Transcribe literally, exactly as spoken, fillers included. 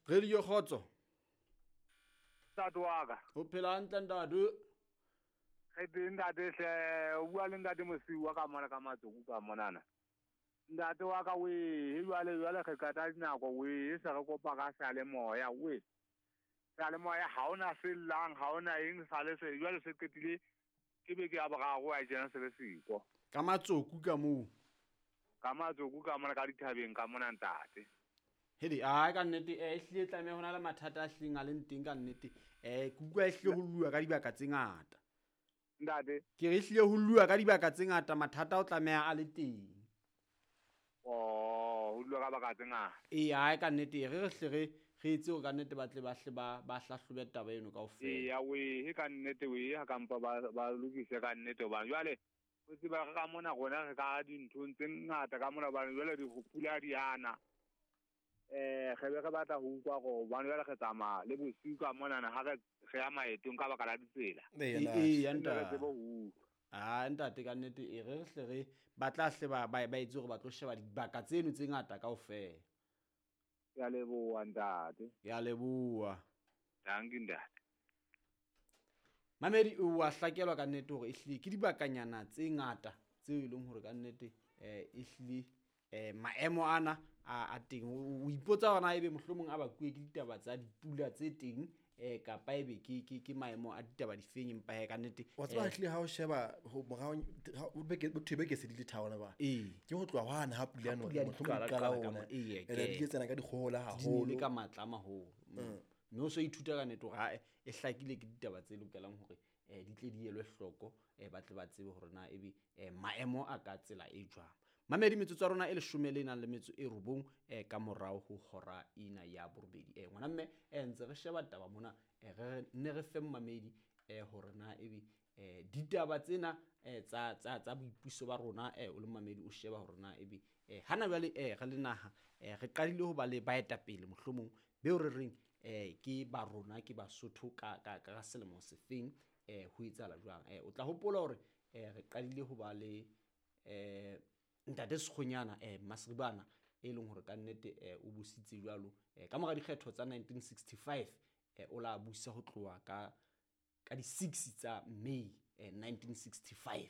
Radio Kgotso. Ntate wa ka. O phela hantle ntate. Re teng ntate hle, o bua le ntate Mosiu wa ka mona ka Matsoku ka monana. Ntate wa ka we, jwale jwale re qeta dinako we, se re kopa ka seyalemoya we. Seyalemoya ha ona se llang, ha ona eng sale se jwale se qetile ke beke ya boraro a tjena se le siko. Ka Matsoku ka moo. Ka Matsoku ka mona ka dithabeng ka mona ntate. Hedi a ka nnete eh ehlile tlameha hona le mathata a hlileng a leng teng ka nnete. Eh ke utlwa ehlile ho lua ka dibaka tse ngata. Ntate ke re ehlile ho lua ka dibaka tse ngata mathata o tlameha a le teng. Oh, ho lua ka baka tse ngata. Eh a ka nnete re re hle re re itse hore ka nnete ba tle ba hle ba ba hlahlobe taba eno kaofela. Eh ya we he ka nnete we ha kampa ba ba lokise ka nnete hobane jwale o tseba re ka mona rona re ka dinthong tse ngata ka mona hobane jwale di pula di ana. Eh re be re batla ho utlwa hore hobane jwale re tsamaya le bosiu ka monana ha re re ya maetong ka baka la ditsela. Eh eh Re tsebe ho utlwa. Ah ntate ka nnete e re hle re ba tla hle ba ba etse hore ba tlo sheba dibaka tseno tse ngata kaofela. Ke a leboha ntate. Ke a leboha. Dankie ntate. Mamedi o a hlakelwa ka nnete hore ehlile ke dibakanyana tse ngata tseo e leng hore ka nnete eh ehlile eh maemo ana a a teng. O ipotsa hore na ebe mohlomong a bakuwe ke ditaba tsa dipula tse teng eh kapa ebe ke ke ke maemo a ditaba difeng empa he ka nnete wa tseba ehlile ha o sheba ho morao o beke botho beke se di le tharo ba ke ho tloha hwana ha pula no mohlomong qala ona ee ene di tsena ka dikgohola haholo haholo ka matla maholo mme o so ithuta ka nnete hore ha e hlakile ke ditaba tse lokelang hore eh di tle di elwe hloko eh ba tle ba tsebe hore na ebe maemo a ka tsela e jwang. Mamedi metsotso ya rona e leshome le nang le metso e robong eh ka morao ho hora ena ya borobedi. Eh ngwana mme eh ntse re sheba taba mona eh re ne re fe mamedi eh hore na ebe eh ditaba tsena eh tsa tsa tsa boipuso ba rona eh o le mamedi o sheba hore na ebe eh hana jwale eh re le naha eh re qadile ho ba le baetapele mohlomong beo re reng eh ke ba rona ke Basotho ka ka ka selemo sefeng eh ho etsahala jwang. Eh o tla hopola hore eh re qadile ho ba le eh ntate Sekgonyana eh Masribana e leng hore ka nnete eh o busitse jwalo eh ka mora dikgetho tsa nineteen sixty-five eh o la busa ho tloha ka ka di six tsa May eh nineteen sixty-five.